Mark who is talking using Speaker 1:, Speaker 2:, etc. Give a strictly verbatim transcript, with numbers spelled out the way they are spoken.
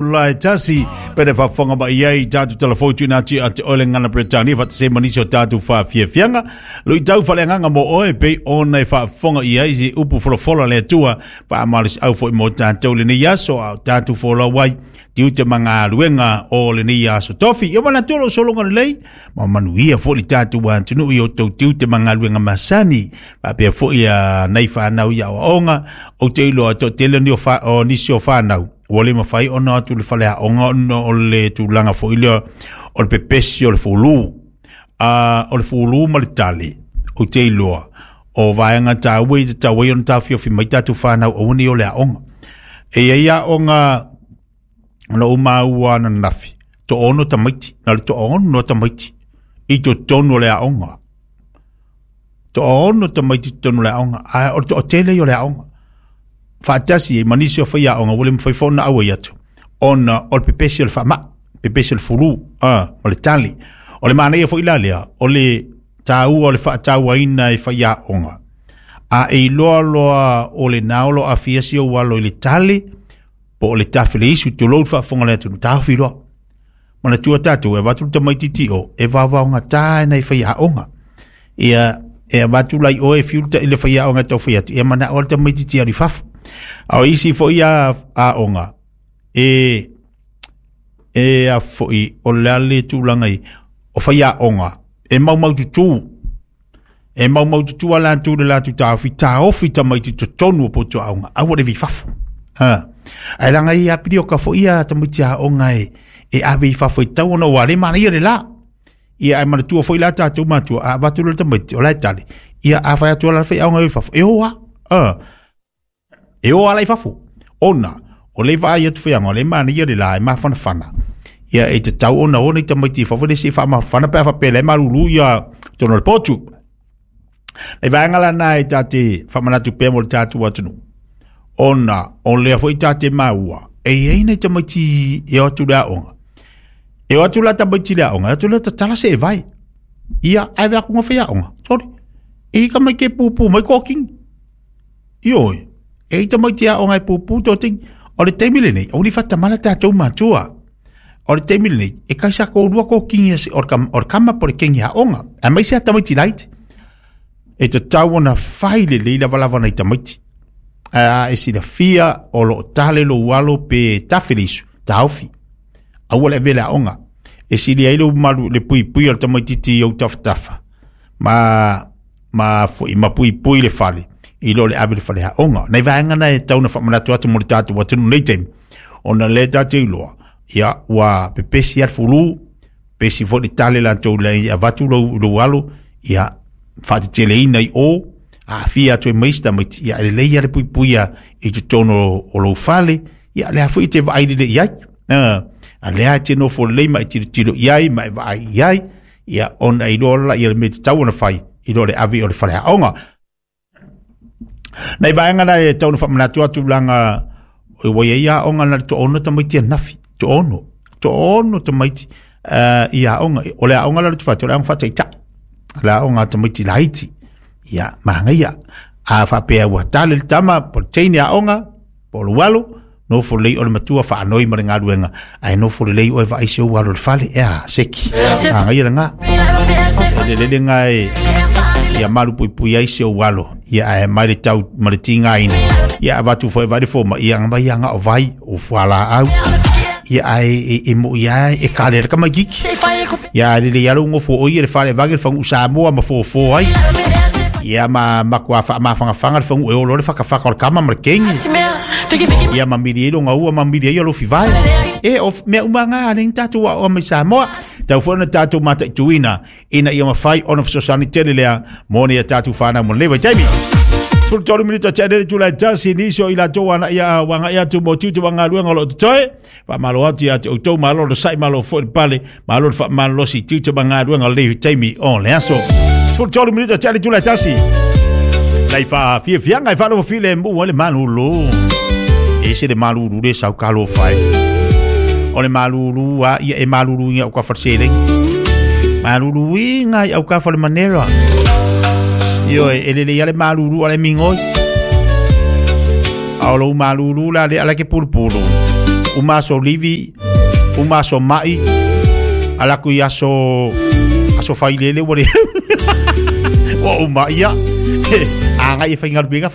Speaker 1: Lai tasi pere faafofoga mai ai tatou telefoni tuuina atu ia te oe le gagana Peretania faatasi ai ma nisi o tatou faafiafiaga luitau faaleagaga mo oe pei ona e faafofoga i ai se upu folafola a le Atua faamalosiau foi mo tatou lenei aso a o tatou folau ai tiute ma galuega o lenei aso tofi. Ia manatua lou sologa lelei ma manuia foi le tatou atunuu i o outou tiute ma galuega masani faapea foi ia nai fanau i aoaoga. Ou te iloa toatele ni o, fa, o nisi o fanau ua le mafai ona atu le faleaoga ona o le tulaga foi lea o le pepesi o le fulu. Uh, o le fulu ma le tale, ou te iloa o vaega taua i tatau ai ona taofiofi mai tatou fanau aua ne i o le aoga. E iai aoga na ou maua ananafi, toaono tamaiti, na le toaono tamaiti i totonu o le aoga. Toaono tamaiti i totonu o le aoga, ae o le toatele ia o le aoga. Faatasi ai ma nisi o faiaoga ua le mafai foi ona auai atu ona o le pepesi o le faamai, pepesi o le fulu a, ma le tali. O le manaia foi la lea, o le taua o le faatauaina e faiaoga. A e iloa loa o lena o lo o aafia si ou alo i le tali, po o le tafe le isu, tulou le faafofoga a le atunuu, taofi loa. Manatua tatou, e avatu le tamaitiiti o, e vaovaogata e nai faiaoga. Ia, e avatu la i oe e fiu le le faiaoga e tau fai atu, ia manao le tamaitiiti alu i fafo. A o isi foi aoga, e, e a foi, o le a le tulaga i, o faiaoga, e maumaututu, e maumaututu a latou le latou taofi, taofi tamaiti totonu o potu aoga, aua le ave i fafo. Ha. Ae laga i apili o ka foi ia tamaiti aoga e, e ave i fafo i tau ona ua le manaia le la. Ia ae manatua foi la tatou matua, a avatu le tamaiti, o la e tali. Ia a fai atu la faiaoga i fafo, e o a. Ha. E o ala i fafo. Ona, o le vaai atu faiaoga, o le manaia le la e mafanafana. Ia e tatau ona o nei tamaiti i fafo le se faamafana pe a faapea la e malulu ia totonu o le potu. Le vaega lana e tate faamanatu pea mo le tatou atunuu. Ona o lea foi tate maua, e iai nei tamaiti e o atu le aoga. E o atu la tamaiti le aoga, e atu le tatala se e vai. Ia, ae vea kunga faiaoga. Sorry. E ka mai ke pupu mai koking. Ioe. E i tamaiti aoga e pupu tō. O le taimi lenei, o ni whatamala tātou matua. O le taimi lenei, e kaisa kōrua koking ia se, o le kam- o le kama po le kengi aoga. A mai se a tamaiti laiti. E tatau ona fai lelei lavalava nai tamaiti. A e silafia o loo tale lou alo pe tafe le isu, taofi. Aua le ave le aoga. E sili ai lou malu le puipui o le tamaitiiti i ou tafatafa. Ma ma foi ma puipui le fale i lo le ave le fale aoga. Nai vaega na e tau na faamanatu atu mo le tatou atunuu nei taimi. Ona lea tatou iloa, ia ua pepesi a le fulu, pepesi foi le tale latou le avatu lou, lou alo, ia faateteleina i o, aafia atu ai ma isi tamaiti, ia e lelei a le puipuia i totonu o lou fale, ia lea foi e te vaai lelei i ai. Uh, a lea e te nofo lelei ma e tilotilo i ai ma e vaai i ai, ia ona iloa la ia le mea tatau ona fai i lo le ave o le fale aoga. Nai vaega na e tau na faamanatu atu laga ua iai aoga na le toaono tamaiti ananafi, toaono, toaono tamaiti uh, i aoga. O le aoga la le tufatu, o le aoga faataitai, le aoga a tamaiti laiti. Ia, magaia. A faapea ua tale le tama, po le teine aoga, po o le alo, nofo lelei o le matua faanoi ma le galuega, ae nofo lelei oe vaai si ou alo i le fale, ea, seki. Magaia lena. O le lele ngā e, ia malu puipui ai si ou alo, ia ae mai le tau ma le tigaina. Ia avatu foi vai le foma, ia nga mai anga o vai, o fualaau. Ia ae e, e mo ia e kale le kamaititi. Ia ae lelei alo ngofo o ia le fale vage le fagu'u Samoa ma fofo ai. Ia ma makuā faamafagafaga le fagu'u e olo le fakafaka o le kama ma le keigi. Ia mamili ai loga ua mamili ai o lofi vai. E o mea uma ngā le tatou aoga mai Samoa. Tau foi ona tatou mataituina ina ia mafai ona fesoasoani tele lea mo nei a tatou fanau mo lenei vaitaimi. Sefulu tolu minute tea le itula e tasi nisi o i latou aga'i aga'i atu mo tiute ma galuega o loo totoe. Faamalo atu ia te outou, malo le sa'i, malo foi le pale, malo le faamalolosi i tiute ma galuega o lenei taimi o le aso. Sefulu tolu minute tea le itula e tasi. Nai faafiafiaga e faalofofile mu ai le malulu. E se le malulu le sau kalofai. O le malulu a ia e malulu inga au ka whatsele. Malulu inga i au ka whale manera. Io e lele ia le malulu ale mingoi. A o lou malulu la le ala ke pulupulu. Uma aso livi, uma aso mai, ala ku i aso aso failele ua le ua uma ia agai e faigaluega.